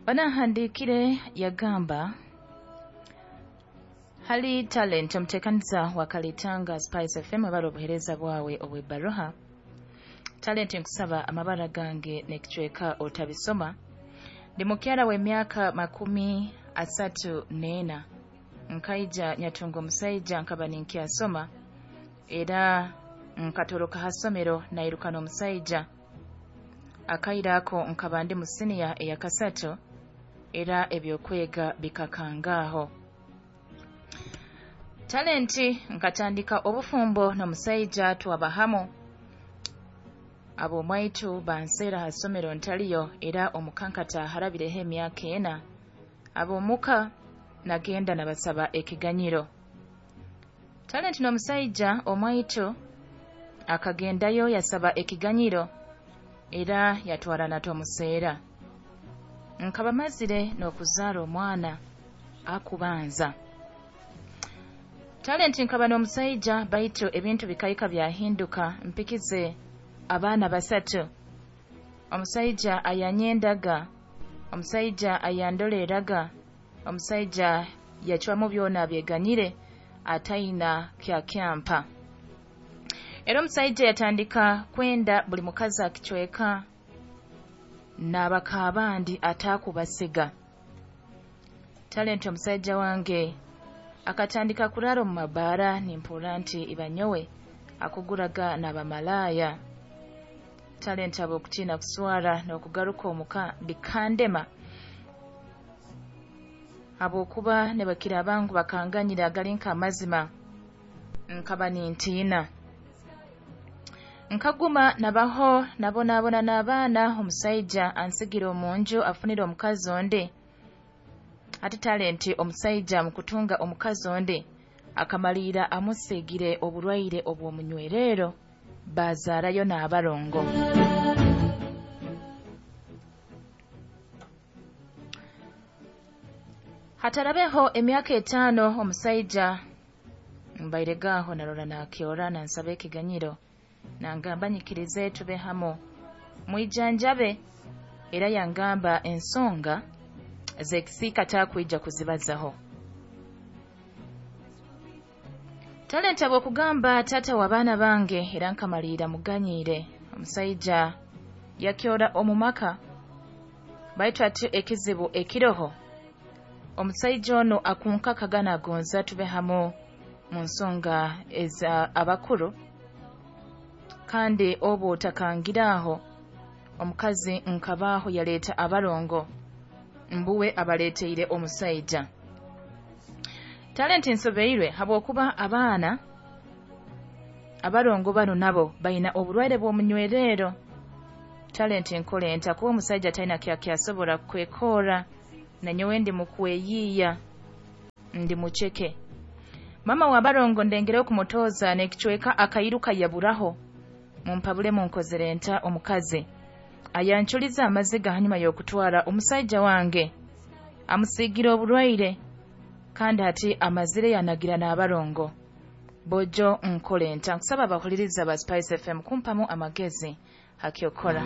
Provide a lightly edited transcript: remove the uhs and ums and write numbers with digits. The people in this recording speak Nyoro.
Banahandiikire yagamba hali Talent, omuteekaniza wa Kalitanga Spice FM, abara obuheereza bwawe obw'ebbaruha. Talent, nkusaba amabara gange n'ekicweka otabisoma. Ndi mukyara w'emyaka 34. Nkaija nyatunga omusaija nkaba ninkyasoma, era nkatoroka ha ssomero nairuka n'omusaija. Akaire ako nkaba ndi mu siniya eyakasatu, era ebyokwega bikakangaaho. Talenti, nkatandika obufumbo n'omusaija twaba hamu. Ab'omwaitu banseera ha ssomero ntaliyo, era omukankata harabireho emyaka 4. Ab'omuka nagenda nabasaba ekiganyiro. Talenti, n'omusaija omwaitu akagendayo yasaba ekiganyiro, era yatwara natomuseera. Nkaba mazire n'okuzaara omwana akubanza. Talenti, nkaba n'omusaija baitu ebintu bikaika byahinduka, mpikize abaana 3. Omusaija ayanyendaga, omusaija ayandoleeraga, omusaija yacwamu byona abyeganyire, ataina kyakyampa. Era omusaija yatandika kwenda buli mukazi akicweka n'abaka abandi ataakubasiga. Talenti, omusaija wange akatandika kuraara omu mabaara, nimpurra nti ibanyowe akuguraga n'abamalaaya. Talenti, habw'okutiina kuswara n'okugaruka omuka bikandema, habwokuba nibakira ngu bakanganyira agali nk'amazima, nkaba nintiina. Nkaguma nabaho nabonaabona n'abaana, omusaija ansigira omu nju afunire omukazi ondi. Hati Talenti, omusaija mu kutunga omukazi ondi akamaliira amusiigire oburwaire obw'omunywerero, bazaarayo n'abarongo. Hatarabeho emyaka 5, omusaija mbairegaho narora nakyora nansaba ekiganyiro, nangamba nyikirize tube hamu mwijanjabe, era yangamba ensonga z'ekisiika takwija kuzibazaho. Talenti, habw'okugamba taata w'abaana bange, era nkamaliira muganyiire. Omusaija yakyora omu maka, baitu ati ekizibu ekiroho, omusaija onu akunkakaga nagonza tube hamu mu nsonga eza abakuru, kandi obu otakangiraaho omukazi nkabaaho yaleeta abarongo mbuwe abaleeteire omusaija. Talenti, nsobeirwe habwokuba abaana abarongo banu nabo baina oburwaire bw'omunywerero. Talenti, nkole nta kuba omusaija talina kyakyasobora kwekora, nanyowe ndi mukweyiiya, ndi muceke. Mama w'abarongo ndengereho kumutooza n'ekicweka akairuka yaburaho. Mumpabule munkozere nta omukazi ayanculiza amaziga hanyuma y'okutwara omusaija wange, amusiigira oburwaire, kandi hati amazire yanagira n'abarongo. Bojo nkole nta? Nkusaba abahuliriza ba Spice FM kumpamu amagezi hakyokora.